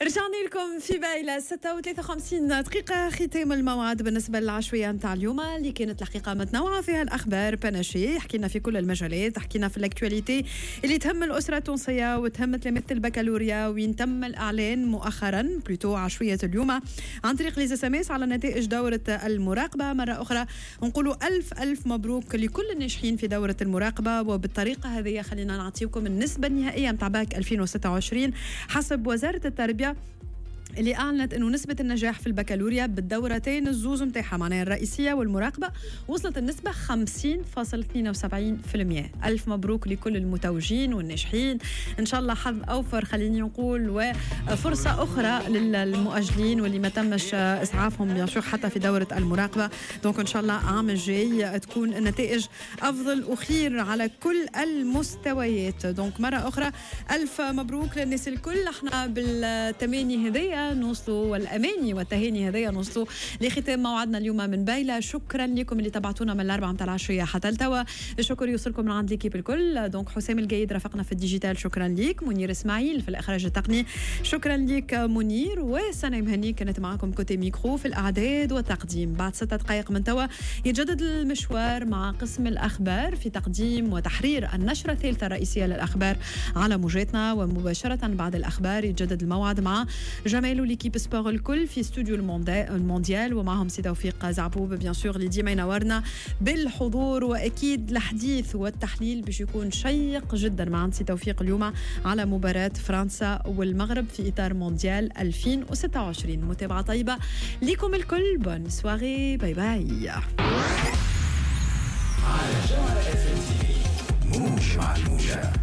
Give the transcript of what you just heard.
رجعنا لكم في بايلة 6:53 دقيقة، ختام الموعد بالنسبة للعشوية نتاع اليوم اللي كانت الحقيقة متنوعة فيها الأخبار panachée، حكينا في كل المجالات، حكينا في l'actualité اللي تهم الأسرة التونسية وتهم تلامذة البكالوريا، وين تم الإعلان مؤخرا plutôt عشوية اليوم عن طريق les SMS على نتائج دورة المراقبة. مرة أخرى نقولوا ألف ألف مبروك لكل الناجحين في دورة المراقبة، وبالطريقة هذه خلينا نعطيكم النسبة النهائية نتاع باك 2026 حسب وزارة التربية اللي اعلنت انه نسبه النجاح في البكالوريا بالدورتين الزوز نتاعها، معناها الرئيسية والمراقبه، وصلت النسبة 50.72%. الف مبروك لكل المتوجين والناجحين، ان شاء الله حظ اوفر خليني نقول، وفرصه اخرى للمؤجلين واللي ما تمش اسعافهم bien sûr حتى في دوره المراقبه. donc ان شاء الله عام الجاي تكون النتائج افضل وخير على كل المستويات. donc مرة اخرى الف مبروك للناس الكل. احنا بالتماني هذيا نوصلوا، والاماني والتهاني هذيا نوصلوا لختام موعدنا اليوم من بايله. شكرا لكم اللي تبعتونا من 4 متاع العشية حتى لتوا. الشكر يوصلكم من عند l'équipe الكل. donc حسام القايد رافقنا في ال digital، شكرا ليك. منير اسماعيل في الاخراج التقني، شكرا ليك منير. وسنة مهني كانت معكم côté micro في الاعداد والتقديم. بعد 6 دقائق من توا يتجدد المشوار مع قسم الاخبار في تقديم وتحرير النشرة الثالثة الرئيسية للاخبار على موجاتنا، ومباشرة بعد الاخبار يتجدد الموعد مع جمال و l'équipe sport الكل في استوديو المونديال، ومعهم سي توفيق زعبوب bien sûr اللي ديما ينورنا بالحضور، واكيد الحديث والتحليل باش يكون شيق جدا مع سي توفيق اليوم على مباراة فرنسا والمغرب في اطار مونديال 2026. متابعه طيبة لكم الكل، bonne soirée، bye bye. على جوهرة اف ام تي في، موج مع الموجة.